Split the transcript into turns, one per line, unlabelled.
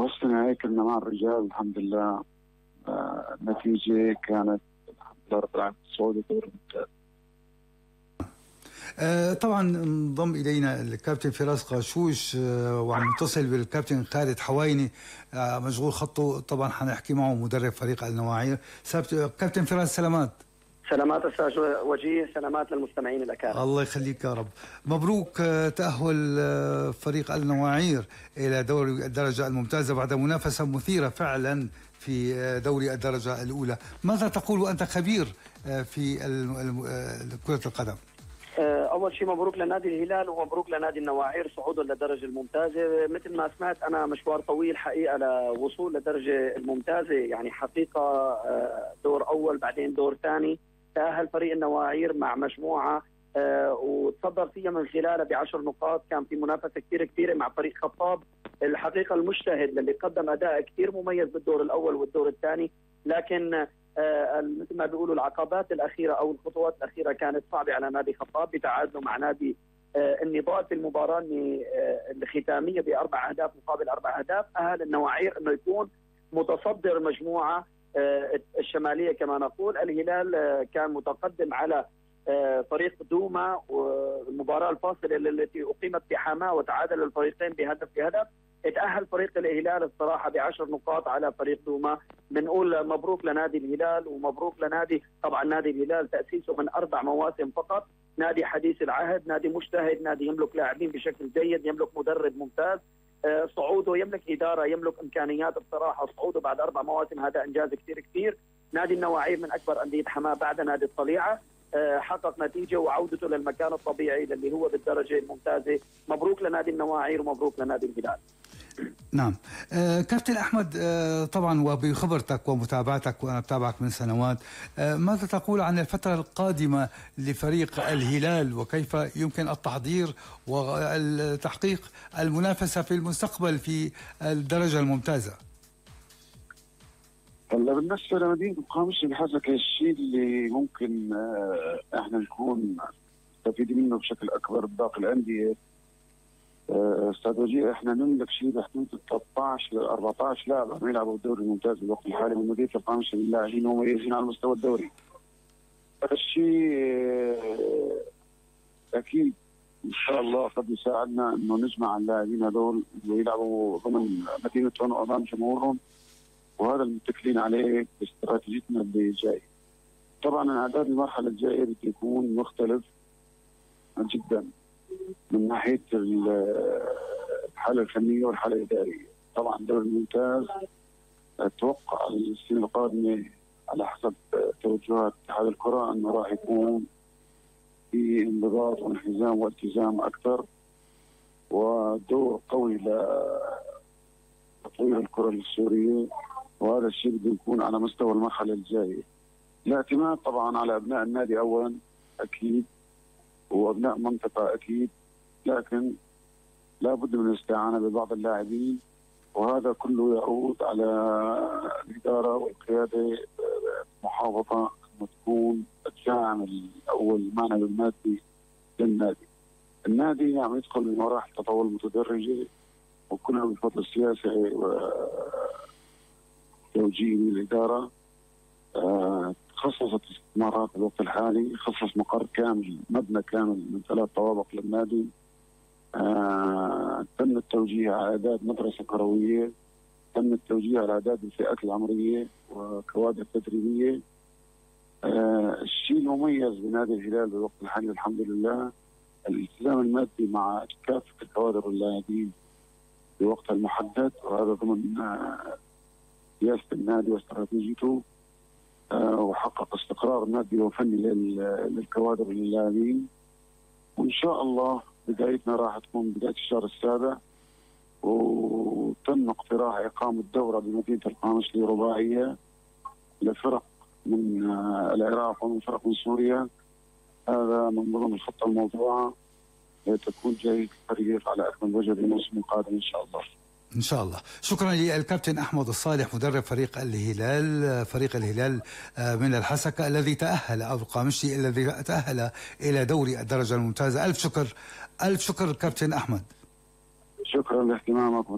وهالسنة هيك كنا مع الرجال الحمد لله. النتيجة كانت الحمد لله رب العالمين صعود الدور الممتاز.
طبعا انضم الينا الكابتن فراس قاشوش وعم نتصل بالكابتن خالد حوايني مشغول خطه، طبعا حنحكي معه مدرب فريق النواعير. كابتن فراس سلامات.
سلامات استاذ وجيه، سلامات للمستمعين الاكارم.
الله يخليك يا رب. مبروك تأهل فريق النواعير الى دوري الدرجة الممتازة بعد منافسة مثيرة فعلا في دوري الدرجة الأولى. ماذا تقول وأنت خبير في كرة القدم؟
اول شيء مبروك لنادي الهلال ومبروك لنادي النواعير صعوده للدرجه الممتازه. مثل ما سمعت انا مشوار طويل حقيقه لوصول للدرجه الممتازه، يعني حقيقه دور اول بعدين دور ثاني. تاهل فريق النواعير مع مجموعه وتصدر فيها من خلالها ب10 نقاط. كان في منافسه كثير كبيره مع فريق خطاب الحقيقه المجتهد اللي قدم اداء كثير مميز بالدور الاول والدور الثاني، لكن مثل ما بيقولوا العقبات الاخيره او الخطوات الاخيره كانت صعبه على نادي خطاب بتعادله مع نادي النضال في المباراه الختاميه ب4 أهداف مقابل 4 أهداف. اهل النواعير انه يكون متصدر المجموعه الشماليه كما نقول. الهلال كان متقدم على فريق دوما، والمباراه الفاصله التي اقيمت بحماه وتعادل الفريقين بهدف بهدف. اتأهل فريق الهلال الصراحة ب10 نقاط على فريق دوما. بنقول مبروك لنادي الهلال ومبروك لنادي، طبعا نادي الهلال تأسيسه من 4 مواسم فقط، نادي حديث العهد، نادي مجتهد، نادي يملك لاعبين بشكل جيد، يملك مدرب ممتاز. صعوده يملك إدارة، يملك إمكانيات. بصراحة صعوده بعد 4 مواسم هذا إنجاز كثير. نادي النواعير من أكبر أندية حماة بعد نادي الطليعة، حقق نتيجة وعودته للمكان الطبيعي اللي هو بالدرجة الممتازة. مبروك لنادي النواعير ومبروك لنادي الهلال.
نعم. كابتن أحمد، طبعا وبخبرتك ومتابعتك وأنا أتابعك من سنوات، ماذا تقول عن الفترة القادمة لفريق الهلال وكيف يمكن التحضير وتحقيق المنافسة في المستقبل في الدرجة الممتازة؟
هلا بالنسبة لمدينة القامشلي بحسك الشيء اللي ممكن احنا نكون مستفيدين منه بشكل أكبر باقي الأندية. استاذ وجيه، احنا نملك شيء بحدود 13 ل 14 لاعب عم يلعبوا بالدوري الممتاز بالوقت الحالي من مدينه القامشلي، اللاعبين مميزين على مستوى الدوري. هذا الشيء اكيد ان شاء الله قد يساعدنا انه نجمع اللاعبين هذول ويلعبوا ضمن مدينتهم وامام جمهورهم، وهذا المتكلين عليه باستراتيجيتنا اللي جاي. طبعا اعداد المرحله الجايه بده يكون مختلف جدا من ناحيه الحاله الفنيه والحاله الاداريه. طبعا الدوري الممتاز اتوقع السنه القادمه على حسب توجهات اتحاد الكره انه راح يكون في انضباط وانحزام والتزام اكثر ودور قوي لتطوير الكره السوريه، وهذا الشيء بده يكون على مستوى المرحله الجايه. الاعتماد طبعا على ابناء النادي اولا اكيد وابناء منطقه اكيد، لكن لا بد من الاستعانه ببعض اللاعبين، وهذا كله يعود على الاداره والقياده محافظه انه تكون الداعم الاول المعنوي المادي للنادي. النادي عم يدخل بمراحل تطور متدرجه وكله بفضل السياسه وتوجيه من الاداره. خصصت استثمارات الوقت الحالي، خصص مقر كامل مبنى كامل من 3 طوابق للنادي. تم التوجيه على اعداد مدرسه كرويه، تم التوجيه على اعداد الفئات العمريه وكوادر تدريبيه. الشيء المميز بنادي الهلال بالوقت الحالي الحمد لله الالتزام المادي مع كافه الكوادر واللاعبين بوقتها المحدد، وهذا ضمن سياسه النادي واستراتيجيته، وحقق استقرار مادي وفني للكوادر واللاعبين. وان شاء الله بدايتنا راح تكون بدايه الشهر السابع، وتم اقتراح اقامه دوره بمدينه القامشلي رباعيه لفرق من العراق ومن فرق من سوريا. هذا من ضمن الخطه الموضوعه لتكون جاهزه الفريق على اكمل وجه بالموسم القادم ان شاء الله.
إن شاء الله. شكرا للكابتن أحمد الصالح مدرب فريق الهلال من الحسكة الذي تأهل، أو القامشلي الذي تأهل إلى دوري الدرجة الممتازة. ألف شكر كابتن أحمد.
شكرا لاهتمامك.